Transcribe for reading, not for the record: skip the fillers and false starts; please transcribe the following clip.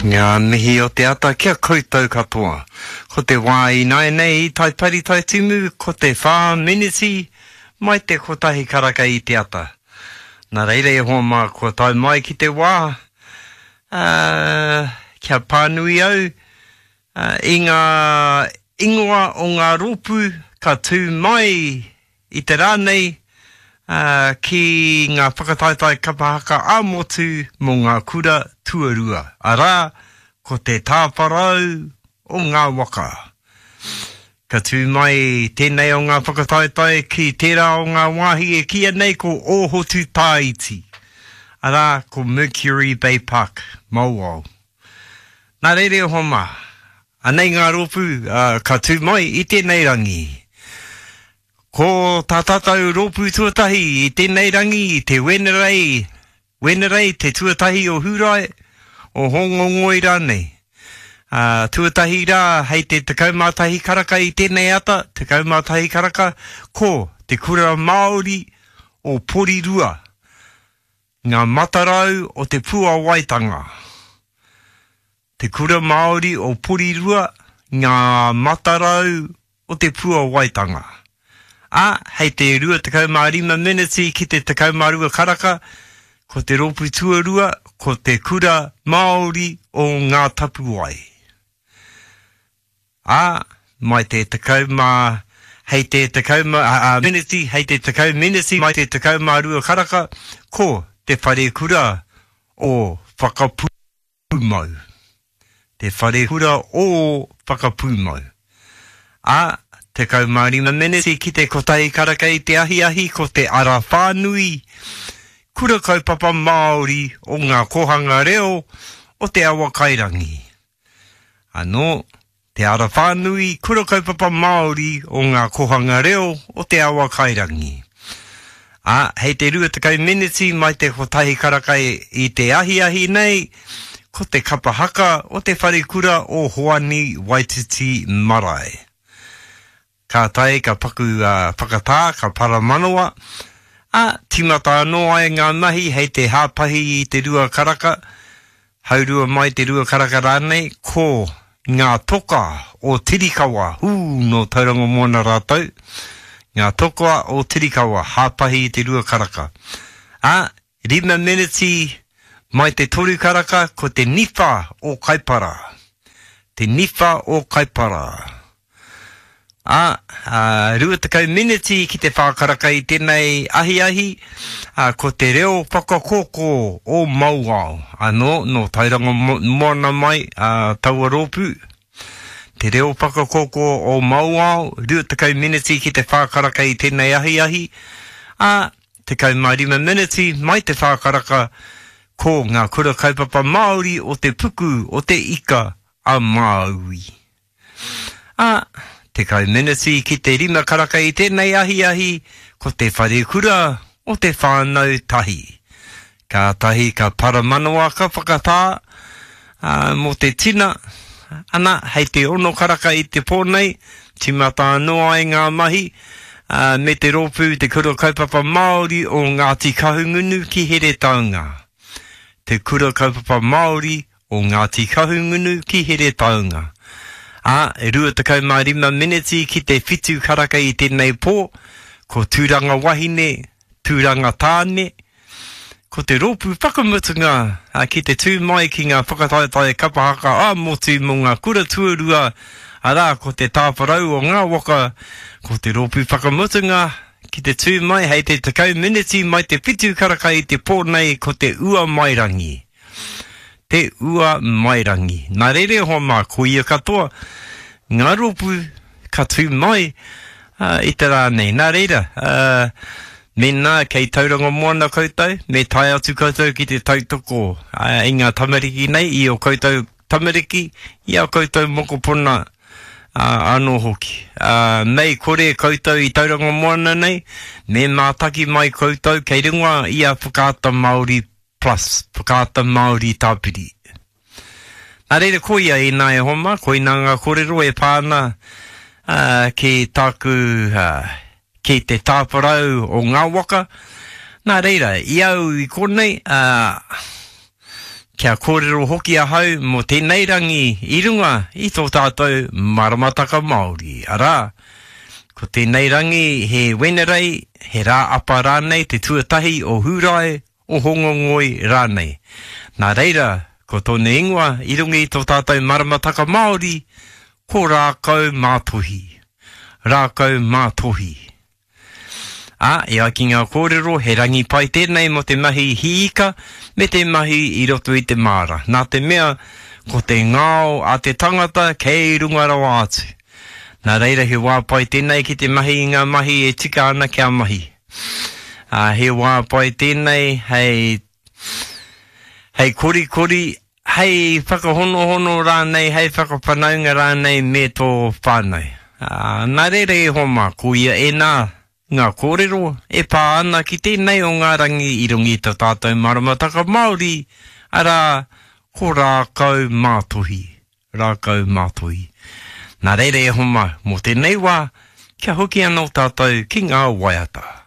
Ngā mihi o te ata ki a koutou katoa. Ko te wā ināianei i Taipari Taitimu ko te whā meneti mai te kotahi karaka i te ata. Nā reira e hoa mā kua tae mai ki te wā ā, kia pānui au i ngā ingoa o ngā rōpū ka tū mai i te rā nei ki ngā whakataetae kapa haka ā-motu mō ngā kura tuarua, arā, ko te tāwharau o ngā waka. Ka tū mai tēnei o ngā whakataetae ki tērā o ngā wāhi e kīia nei ko Ōhotu Tāiti, arā, ko Mercury Bay Park, Mauao. Nā reira e hoa mā, anei ngā rōpū ka tū mai i tēnei rangi. Ko tā tātou rōpū tuatahi i tēnei rangi, te Wenerei, Wenerei te tuatahi o Hūrae, o Hōngongoi rānei. Ā, tuatahi rā hei te 11 karaka i tēnei ata, 11 karaka, ko Te Kura Māori o Porirua, Ngā matarau o te puawaitanga. Te Kura Māori o Porirua, Ngā matarau o te puawaitanga. Ā, hei te 25 meneti ki te 12 karaka, ko te rōpū tuarua, ko Te Kura Māori o Ngā Tapuwae. Ā, mai te 10, hei te 10, ā, meneti, hei te 10 meneti mai te 12 karaka, ko Te Wharekura o Whakapūmau. Te Wharekura o Whakapūmau. Ā, 15 meneti ki te kotahi karaka i te ahiahi ko Te Ara Whānui, Kura Kaupapa Māori o Ngā Kōhanga Reo o Te Awakairangi. Anō, te ara whānui kura kaupapa Māori o ngā kohanga reo o Te Awa Kairangi. Ā, hei te 20 meneti mai te kotahi karaka i te ahiahi nei, ko te kapa haka o te wharekura o Hoani Waititi Marae. Kātahi ka paku whakatā, ka paramanawa, ā, tīmata anō ai ngā mahi hei te hāpahi i te rua karaka, haurua mai te rua karaka rānei, ko ngā toka o Tirikawa, hū, nō Tauranga Moana rātou, ngā toka o Tirikawa, hāpahi i te rua karaka. Ā, Rima meneti mai te toru karaka ko te niwha o Kaipara. Te niwha o Kaipara. Ā, ā, 20 meneti ki te whā karaka i tēnei ahiahi, ā, ko te reo whakakōkō o Mauao, anō, nō Tauranga Moana mai, ā, taua rōpū. Te reo whakakōkō o Mauao, 20 meneti ki te whā karaka i tēnei ahiahi, ā, 15 meneti mai te whā karaka, ko ngā kura kaupapa Māori o te puku o te Ika a Māui. Ā, 10 meneti ki te rima karaka i tēnei ahiahi, ko te wharekura o te whānau tahi. Kātahi ka paramanawa ka whakatā, ā, mō te tina, ana, hei te ono karaka i te pō nei, tīmata anō ai ngā mahi, ā, me te rōpū Te Kura Kaupapa Māori o Ngāti Kahungunu ki Heretaunga. Te Kura Kaupapa Māori o Ngāti Kahungunu ki Heretaunga. Ā, e 25 meneti ki te whitu karaka i tēnei pō, ko Tūranga Wahine, Tūranga Tāne, ko te rōpū whakamutunga ki te tū mai ki ngā whakataetae kapa haka ā-motu mō ngā kura tuarua, arā, ko te tāwharau o ngā waka, ko te rōpū whakamutunga ki te tū mai hei te 10 meneti mai te whitu karaka i te pō nei ko te Uamairangi. Te Uamairangi. Nā reira e hoa mā, ko ia katoa ngā rōpū ka tū mai i te rā nei. Nā reira, mēnā kei Tauranga Moana koutou, me tae atu koutou ki te tautoko i ngā tamariki nei, i ō koutou tamariki, i ā koutou mokopuna anō hoki. Mei kore koutou i Tauranga Moana nei, me mātaki mai koutou kei runga i a Whakaata Māori Plus, Whakaata Māori Tāpiri. Nā reira, koia ēnā e hoa mā, koinā ngā kōrero e pā ana ki tāku, ki te tāwharau o ngā waka. Nā reira, i au i konei, kia kōrero hoki ahau mō tēnei rangi i runga i tō tātou maramataka Māori, arā, ko tēnei rangi he Wenerei, he rā apa rānei te tuatahi o Hūrae, o Hōngongoi rānei. Nā reira, ko tōna ingoa i runga i tō tātou maramataka Māori, ko Rākau Mātohi. Rākau Mātohi. Ā, e ai ki ngā kōrero, he rangi pai tēnei mō te mahi hī ika me te mahi i roto i te māra, nā te mea, ko te ngao a te tangata kei runga rawa atu. Nā reira he wā pai tēnei ki te mahi i ngā mahi e tika ana kia mahi. Ā, he wā pai tēnei hei, hei korikori, hei whakahonohono rānei, hei whakawhanaunga rānei me tō whānau. Ā, nā reira e hoa mā, koia ēnā ngā kōrero e pā ana ki tēnei o ngā rangi i runga i tā tātou maramataka Māori, arā, ko Rākau Mātohi, Rākau Mātohi. Nā reira e hoa mā, mō tēnei wā, kia hoki anō tātou ki ngā waiata.